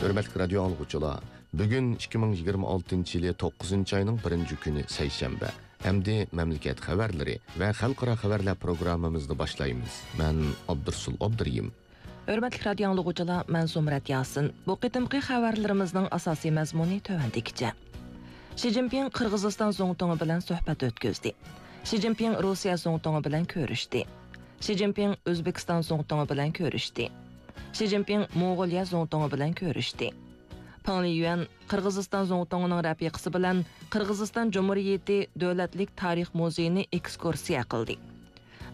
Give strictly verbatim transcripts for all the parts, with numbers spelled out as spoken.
ھۆرمەتلىك رادىيو ئاڭلىغۇچىلار، بۈگۈن ئىككى مىڭ يىگىرمە ئالتىنچى يىلى توققۇزىنچى ئاينىڭ بىرىنچى كۈنى، سەيشەنبە. ئەمدى مەملىكەت خەۋەرلىرى ۋە خەلقئارا خەۋەرلەر پروگراممىمىزنى باشلايمىز. مەن ئابدۇرسۇل ئابدۇرېھىم. ھۆرمەتلىك رادىيو ئاڭلىغۇچىلار، مەن زۇمرەت ياسىن. بۇ قېتىمقى خەۋەرلىرىمىزنىڭ ئاساسىي مەزمۇنى تۆۋەندىكىچە. شى جىنپىڭ قىرغىزىستان زۇڭتۇڭى بىلەن سۆھبەت ئۆتكۈزدى. شى جىنپىڭ روسىيە زۇڭتۇڭى بىلەن كۆرۈشتى. شى جىنپىڭ ئۆزبېكىستان زۇڭتۇڭى بىلەن كۆرۈشتى. شى جىنپىڭ موڭغۇلىيە زۇڭتۇڭى بىلەن كۆرۈشتى. پېڭ لىيۈەن قىرغىزىستان زۇڭتۇڭىنىڭ رەپىقىسى بىلەن قىرغىزىستان جۇمھۇرىيىتى دۆلەتلىك تارىخ مۇزېيىنى ئېكسكۇرسىيە قىلدى.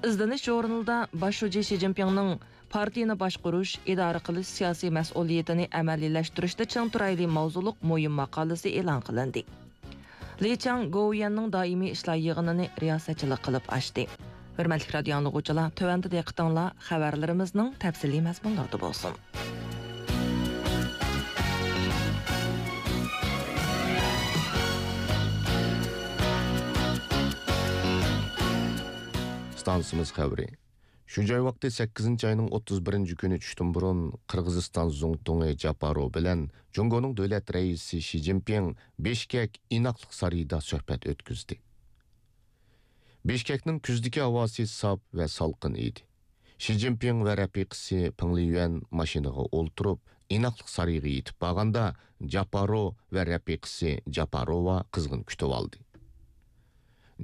ئىزدىنىش ژۇرنىلىدا باش شۇجى شى جىنپىڭنىڭ پارتىيىنى باشقۇرۇش، ئىدارە قىلىش سىياسىي مەسئۇلىيىتىنى ئەمەلىيلەشتۈرۈشتە چىڭ تۇرايلى ماۋزۇلۇق مۇھىم ماقالىسى ئېلان قىلىندى. لى چاڭ گوۋۇيۈەننىڭ دائىمىي ئىشلار يىغىنىنى رىياسەتچىلىك قىلىپ ئاچتى. ھۆرمەتلىك رادىيو ئاڭلىغۇچىلار، تۆۋەندە دىققىتىڭلار خەۋەرلىرىمىزنىڭ تەپسىلىي مەزمۇنلىرىدا بولسۇن. ئىستانسىمىز خەۋىرى. شۇ جاي ۋاقتى سەككىزىنچى ئاينىڭ ئوتتۇز بىرىنچى كۈنى چۈشتىن بۇرۇن قىرغىزىستان زۇڭتۇڭى جاپارو بىلەن جۇڭگونىڭ دۆلەت رەئىسى شى جىنپىڭ بىشكەك ئىناقلىق سارىيىدا سۆھبەت ئۆتكۈزدى. بىشكەكنىڭ كۈزدىكى ھاۋاسى ساپ ۋە سالقىن ئىدى. شى جىنپىڭ ۋە رەپىقىسى پېڭ لىيۈەن ماشىنىغا ئولتۇرۇپ، ئىناقلىق سارىيىغا يېتىپ بارغاندا، جاپارو ۋە رەپىقىسى جاپاروۋا قىزغىن كۈتۈۋالدى.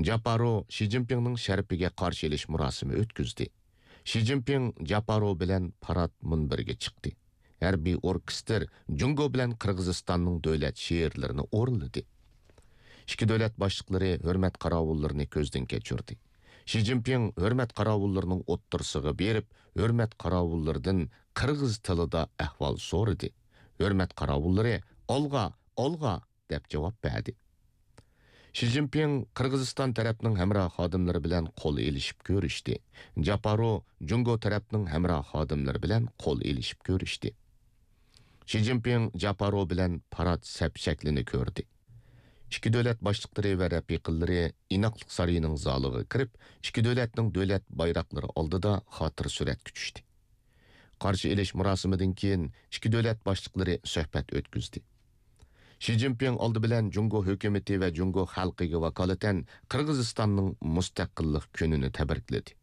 جاپارو شى جىنپىڭنىڭ شەرىپىگە قارشى ئېلىش مۇراسىمى ئۆتكۈزدى. شى جىنپىڭ جاپارو بىلەن پارات مۇنبىرىگە چىقتى. ھەربىي ئوركېستىر جۇڭگو بىلەن قىرغىزىستاننىڭ دۆلەت شېئىرلىرىنى ئورۇنلىدى. ئىككى دۆلەت باشلىقلىرى ھۆرمەت قاراۋۇللىرىنى كۆزدىن كەچۈردى. شى جىنپىڭ ھۆرمەت قاراۋۇللىرىنىڭ ئوتتۇرىسىغا بېرىپ، ھۆرمەت قاراۋۇللىرىدىن قىرغىز تىلىدا ئەھۋال سورىدى. ھۆرمەت قاراۋۇللىرى «ئالغا، ئالغا!» دەپ جاۋاب بەردى. شى جىنپىڭ قىرغىزىستان تەرەپنىڭ ھەمراھ خادىملىرى بىلەن قول ئېلىشىپ كۆرۈشتى. جاپارو جۇڭگو تەرەپنىڭ ھەمراھ خادىملىرى بىلەن قول ئېلىشىپ كۆرۈشتى. شى جىنپىڭ جاپارو بىلەن پارات سەپ شەكلىنى كۆردى. ئىككى دۆلەت باشلىقلىرى ۋە رەپىقىلىرى ئىناقلىق سارىيىنىڭ زالىغا كىرىپ، ئىككى دۆلەتنىڭ دۆلەت بايراقلىرى ئالدىدا خاتىرە سۈرەتكە چۈشتى. قارشى ئېلىش مۇراسىمىدىن كېيىن ئىككى دۆلەت باشلىقلىرى سۆھبەت ئۆتكۈزدى. شى جىنپىڭ ئالدى بىلەن جۇڭگو ھۆكۈمىتى ۋە جۇڭگو خەلقىگە ۋاكالىتەن قىرغىزىستاننىڭ مۇستەقىللىق كۈنىنى تەبرىكلىدى.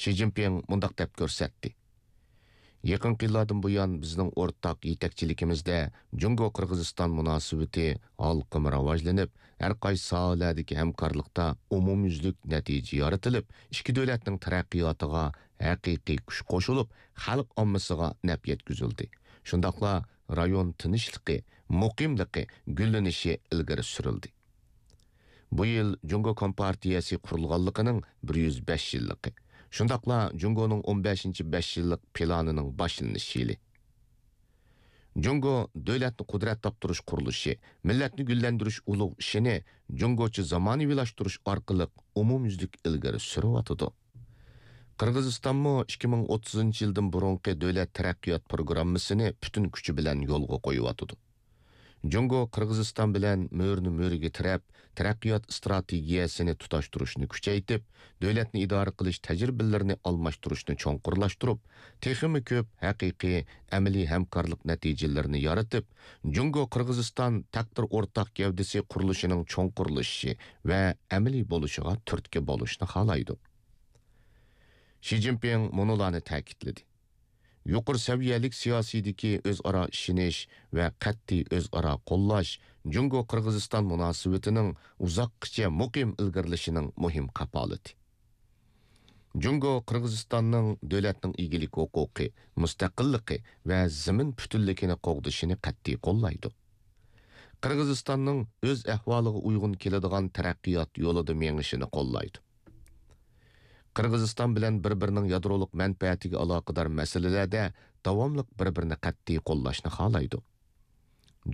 شى جىنپىڭ مۇنداق دەپ كۆرسەتتى: يېقىنقى يىللاردىن بۇيان، بىزنىڭ ئورتاق يېتەكچىلىكىمىزدە جۇڭگو قىرغىزىستان مۇناسىۋىتى ھالقىما راۋاجلىنىپ، ھەر قايسى ساھەلەردىكى ھەمكارلىقتا ئومۇميۈزلۈك نەتىجە يارىتىلىپ، ئىككى دۆلەتنىڭ تەرەققىياتىغا ھەقىقىي كۈچ قوشۇلۇپ، خەلق ئاممىسىغا نەپ يەتكۈزۈلدى. شۇنداقلا رايون تىنچلىقى، مۇقىملىقى، گۈللىنىشى ئىلگىرى سۈرۈلدى. بۇ يىل جۇڭگو كومپارتىيەسى قۇرۇلغانلىقىنىڭ بىر يۈز بەش يىللىقى، شۇنداقلا جۇڭگونىڭ ئون بەشىنچى بەش يىللىق پىلانىنىڭ باشلىنىش يىلى. جۇڭگو دۆلەتنى قۇدرەت تاپتۇرۇش قۇرۇلۇشى، مىللەتنى گۈللەندۈرۈش ئۇلۇغ ئىشىنى جۇڭگوچە زامانىۋىلاشتۇرۇش ئارقىلىق ئومۇميۈزلۈك ئىلگىرى سۈرۈۋاتىدۇ. قىرغىزىستانمۇ ئىككى مىڭ ئوتتۇزىنچى يىلدىن بۇرۇنقى دۆلەت تەرەققىيات پروگراممىسىنى پۈتۈن كۈچى بىلەن يولغا قويۇۋاتىدۇ. جۇڭگو قىرغىزىستان بىلەن مۈرىنى مۈرىگە تىرەپ، تەرەققىيات ئىستراتېگىيەسىنى تۇتاشتۇرۇشنى كۈچەيتىپ، دۆلەتنى ئىدارە قىلىش تەجرىبىلىرىنى ئالماشتۇرۇشنى چوڭقۇرلاشتۇرۇپ، تېخىمۇ كۆپ ھەقىقىي ئەمەلىي ھەمكارلىق نەتىجىلىرىنى يارىتىپ، جۇڭگو قىرغىزىستان تەقدىر ئورتاق گەۋدىسى قۇرۇلۇشىنىڭ چوڭقۇرلىشىشى ۋە ئەمەلىي بولۇشىغا تۈرتكە بولۇشنى خالايدۇ. شى جىنپىڭ مۇنۇلارنى تەكىتلىدى: يۇقىرى سەۋىيەلىك سىياسىيدىكى ئۆزئارا ئىشىنىش ۋە قەتئىي ئۆزئارا قوللاش جۇڭگو قىرغىزىستان مۇناسىۋىتىنىڭ ئۇزاققىچە مۇقىم ئىلگىرىلىشىنىڭ مۇھىم كاپالىتى. جۇڭگو قىرغىزىستاننىڭ دۆلەتنىڭ ئىگىلىك ھوقۇقى، مۇستەقىللىقى ۋە زېمىن پۈتۈنلۈكىنى قوغدىشىنى قەتئىي قوللايدۇ. قىرغىزىستاننىڭ ئۆز ئەھۋالىغا ئۇيغۇن كېلىدىغان تەرەققىيات يولىدا مېڭىشىنى قوللايدۇ. قىرغىزىستان بىلەن بىر-بىرىنىڭ يادرولۇق مەنپەئەتىگە ئالاقىدار مەسىلىلەردە داۋاملىق بىر-بىرىنى قەتئىي قوللاشنى خالايدۇ.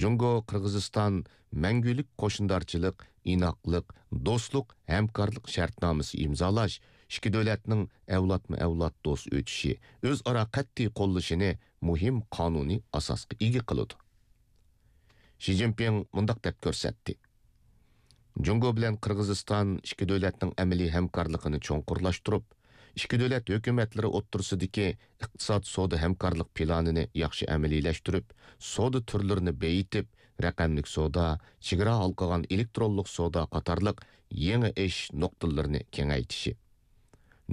جۇڭگو قىرغىزىستان مەڭگۈلۈك قوشنىدارچىلىق، ئىناقلىق، دوستلۇق، ھەمكارلىق شەرتنامىسى ئىمزالاش، ئىككى دۆلەتنىڭ ئەۋلادمۇ ئەۋلاد دوست ئۆتۈشى، ئۆزئارا قەتئىي قوللىشىنى مۇھىم قانۇنىي ئاساسقا ئىگە قىلىدۇ. شى جىنپىڭ مۇنداق دەپ كۆرسەتتى: جۇڭگو بىلەن قىرغىزىستان ئىككى دۆلەتنىڭ ئەمەلىي ھەمكارلىقىنى چوڭقۇرلاشتۇرۇپ، ئىككى دۆلەت ھۆكۈمەتلىرى ئوتتۇرىسىدىكى ئىقتىساد سودا ھەمكارلىق پىلانىنى ياخشى ئەمەلىيلەشتۈرۈپ، سودا تۈرلىرىنى بېيىتىپ، رەقەملىك سودا، چېگرا ھالقىغان ئېلېكترونلۇق سودا قاتارلىق يېڭى ئېشىش نۇقتىلىرىنى كېڭەيتىشى.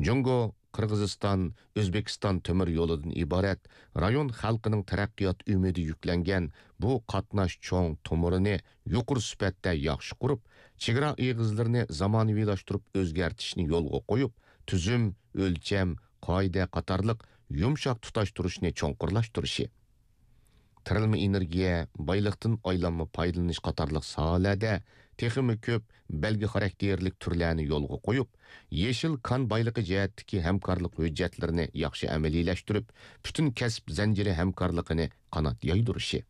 جۇڭگو، قىرغىزىستان، ئۆزبېكىستان تۆمۈر يولىدىن ئىبارەت رايون خەلقىنىڭ تەرەققىيات ئۈمىدى يۈكلەنگەن بۇ قاتناش چوڭ تومۇرىنى يۇقىرى سۈپەتتە ياخشى قۇرۇپ، چېگرا ئېغىزلىرىنى زامانىۋىلاشتۇرۇپ ئۆزگەرتىشنى يولغا قويۇپ، تۈزۈم، ئۆلچەم، قائىدە قاتارلىق يۇمشاق تۇتاشتۇرۇشنى چوڭقۇرلاشتۇرۇشى. تىرىلما ئېنېرگىيە، بايلىقتىن ئايلانما پايدىلىنىش قاتارلىق ساھەلەردە تېخىمۇ كۆپ بەلگە خاراكتېرلىك تۈرلەرنى يولغا قويۇپ، يېشىل كان بايلىقى جەھەتتىكى ھەمكارلىق ھۆججەتلىرىنى ياخشى ئەمەلىيلەشتۈرۈپ، پۈتۈن كەسىپ زەنجىرى ھەمكارلىقىنى قانات يايدۇرۇشى.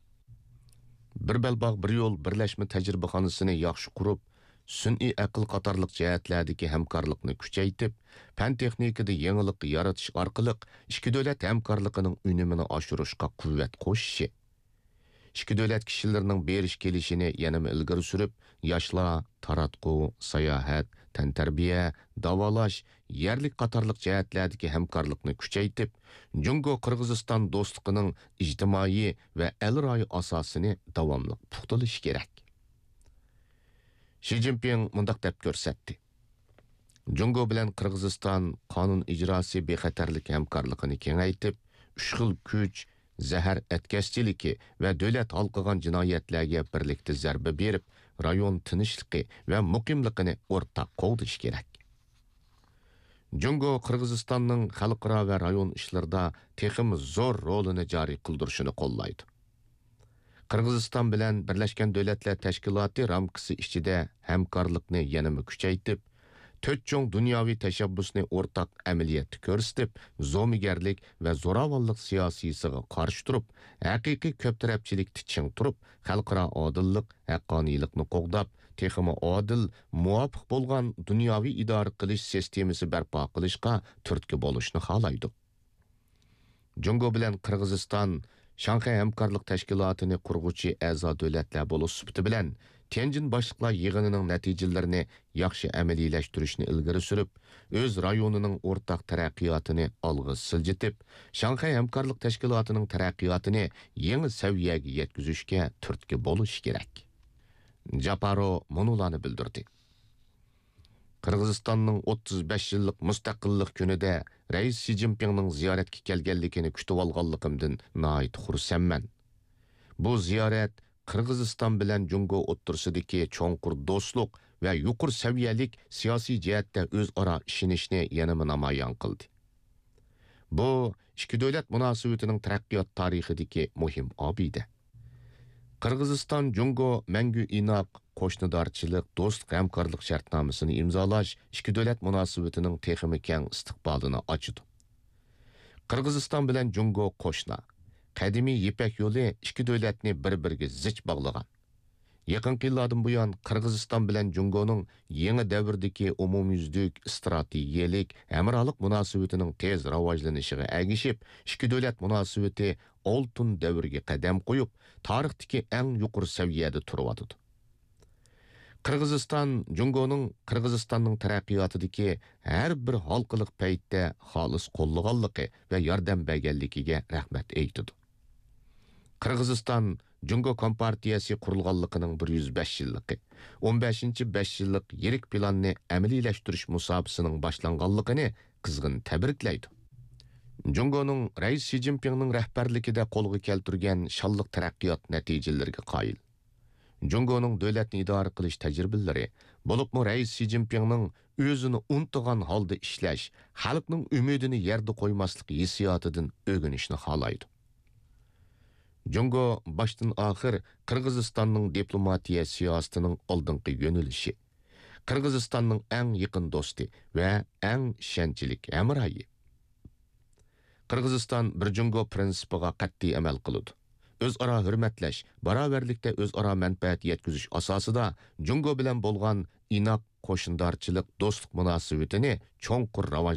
بىر بەلباغ، بىر يول بىرلەشمە تەجرىبىخانىسىنى ياخشى قۇرۇپ، سۈنئىي ئەقىل قاتارلىق جەھەتلەردىكى ھەمكارلىقنى كۈچەيتىپ، پەن تېخنىكىدا يېڭىلىق يارىتىش ئارقىلىق ئىككى دۆلەت ھەمكارلىقىنىڭ ئۈنۈمىنى ئاشۇرۇشقا قۇۋۋەت قوشۇشى. ئىككى دۆلەت كىشىلىرىنىڭ بېرىش كېلىشىنى يەنىمۇ ئىلگىرى سۈرۈپ، ياشلار، تاراتقۇ، ساياھەت، تەنتەربىيە، داۋالاش، يەرلىك قاتارلىق جەھەتلەردىكى ھەمكارلىقنى كۈچەيتىپ، جۇڭگو قىرغىزىستان دوستلۇقىنىڭ ئىجتىمائىي ۋە ئەل رايى ئاساسىنى داۋاملىق پۇختىلىشى كېرەك. شى جىنپىڭ مۇنداق دەپ كۆرسەتتى: جۇڭگو بىلەن قىرغىزىستان قانۇن ئىجراسى بىخەتەرلىك ھەمكارلىقىنى كېڭەيتىپ، ئۈچ خىل كۈچ، زەھەر ئەتكەسچىلىكى ۋە دۆلەت ھالقىغان جىنايەتلەرگە بىرلىكتە زەربە بېرىپ، رايون تىنچلىقى ۋە مۇقىملىقىنى ئورتاق قوغدىشى كېرەك. جۇڭگو قىرغىزىستاننىڭ خەلقئارا ۋە رايون ئىشلىرىدا تېخىمۇ زور رولىنى جارى قىلدۇرۇشىنى قوللايدۇ. قىرغىزىستان بىلەن بىرلەشكەن دۆلەتلەر تەشكىلاتى رامكىسى ئىچىدە ھەمكارلىقنى يەنىمۇ كۈچەيتىپ، تۆت چوڭ دۇنياۋى تەشەببۇسنى ئورتاق ئەمەلىيەتتە كۆرسىتىپ، زومىگەرلىك ۋە زوراۋانلىق سىياسىيسىغا قارشى تۇرۇپ، ھەقىقىي كۆپ تەرەپچىلىكتە چىڭ تۇرۇپ، خەلقئارا ئادىللىق، ھەققانىيلىقنى قوغداپ، تېخىمۇ ئادىل، مۇۋاپىق بولغان دۇنياۋى ئىدارە قىلىش سىستېمىسى بەرپا قىلىشقا تۈرتكە بولۇشنى خالايدۇ. جۇڭگو بىلەن قىرغىزىستان شاڭخەي ھەمكارلىق تەشكىلاتىنى قۇرغۇچى ئەزا دۆلەتلەر بولۇش سۈپىتى بىلەن، تيەنجىن باشلىقلار يىغىنىنىڭ نەتىجىلىرىنى ياخشى ئەمەلىيلەشتۈرۈشنى ئىلگىرى سۈرۈپ، ئۆز رايونىنىڭ ئورتاق تەرەققىياتىنى ئالغا سىلجىتىپ، شاڭخەي ھەمكارلىق تەشكىلاتىنىڭ تەرەققىياتىنى يېڭى سەۋىيەگە يەتكۈزۈشكە تۈرتكە بولۇشى كېرەك. جاپارو مۇنۇلارنى بىلدۈردى: قىرغىزىستاننىڭ ئوتتۇز بەش يىللىق مۇستەقىللىق كۈنىدە رەئىس شى جىنپىڭنىڭ زىيارەتكە كەلگەنلىكىنى كۈتۈۋالغانلىقىمدىن ناھايىتى خۇرسەنمەن. بۇ زىيارەت قىرغىزىستان بىلەن جۇڭگو ئوتتۇرىسىدىكى چوڭقۇر دوستلۇق ۋە يۇقىرى سەۋىيەلىك سىياسىي جەھەتتە ئۆزئارا ئىشىنىشنى يەنىمۇ نامايان قىلدى. بۇ ئىككى دۆلەت مۇناسىۋىتىنىڭ تەرەققىيات تارىخىدىكى مۇھىم ئابىدە. قىرغىزىستان جۇڭگو مەڭگۈ ئىناق قوشنىدارچىلىق، دوستلۇق، ھەمكارلىق شەرتنامىسىنى ئىمزالاش ئىككى دۆلەت مۇناسىۋىتىنىڭ تېخىمۇ كەڭ ئىستىقبالىنى ئاچىدۇ. قىرغىزىستان بىلەن جۇڭگو قوشنا. قەدىمىي يىپەك يولى ئىككى دۆلەتنى بىر-بىرىگە زىچ باغلىغان. يېقىنقى يىللاردىن بۇيان، قىرغىزىستان بىلەن جۇڭگونىڭ يېڭى دەۋردىكى ئومۇميۈزلۈك ئىستراتېگىيەلىك ھەمراھلىق مۇناسىۋىتىنىڭ تېز راۋاجلىنىشىغا ئەگىشىپ، ئىككى دۆلەت مۇناسىۋىتى ئالتۇن دەۋرگە قەدەم قويۇپ، تارىختىكى ئەڭ يۇقىرى سەۋىيەدە تۇرۇۋاتىدۇ. قىرغىزىستان جۇڭگونىڭ قىرغىزىستاننىڭ تەرەققىياتىدىكى ھەر بىر ھالقىلىق پەيتتە خالىس قوللىغانلىقى ۋە ياردەم بەرگەنلىكىگە رەھمەت ئېيتىدۇ. قىرغىزىستان جۇڭگو كومپارتىيەسى قۇرۇلغانلىقىنىڭ بىر يۈز بەش يىللىقى، ئون بەشىنچى بەش يىللىق يىرىك پىلاننى ئەمەلىيلەشتۈرۈش مۇساپىسىنىڭ باشلانغانلىقىنى قىزغىن تەبرىكلەيدۇ. جۇڭگونىڭ رەئىس شى جىنپىڭنىڭ رەھبەرلىكىدە قولغا كەلتۈرگەن شانلىق تەرەققىيات نەتىجىلىرىگە قايىل. جۇڭگونىڭ دۆلەتنى ئىدارە قىلىش تەجرىبىلىرى، بولۇپمۇ رەئىس شى جىنپىڭنىڭ ئۆزىنى ئۇنتۇغان ھالدا ئىشلەش، خەلقنىڭ ئۈمىدىنى يەردە قويماسلىق ھېسسىياتىدىن ئۆگىنىشنى خالايدۇ. جۇڭگو باشتىن ئاخىر قىرغىزىستاننىڭ دىپلوماتىيە سىياسىتىنىڭ ئالدىنقى يۆنىلىشى، قىرغىزىستاننىڭ ئەڭ يېقىن دوستى ۋە ئەڭ ئىشەنچلىك ھەمراھى. قىرغىزىستان بىر جۇڭگو پىرىنسىپىغا قەتئىي ئەمەل قىلىدۇ. ئۆزئارا ھۆرمەتلەش، باراۋەرلىكتە ئۆزئارا مەنپەئەت يەتكۈزۈش ئاساسىدا جۇڭگو بىلەن بولغان ئىناق قوشنىدارچىلىق، دوستلۇق مۇناسىۋىتىنى چوڭقۇر راۋاجلاندۇرۇپ،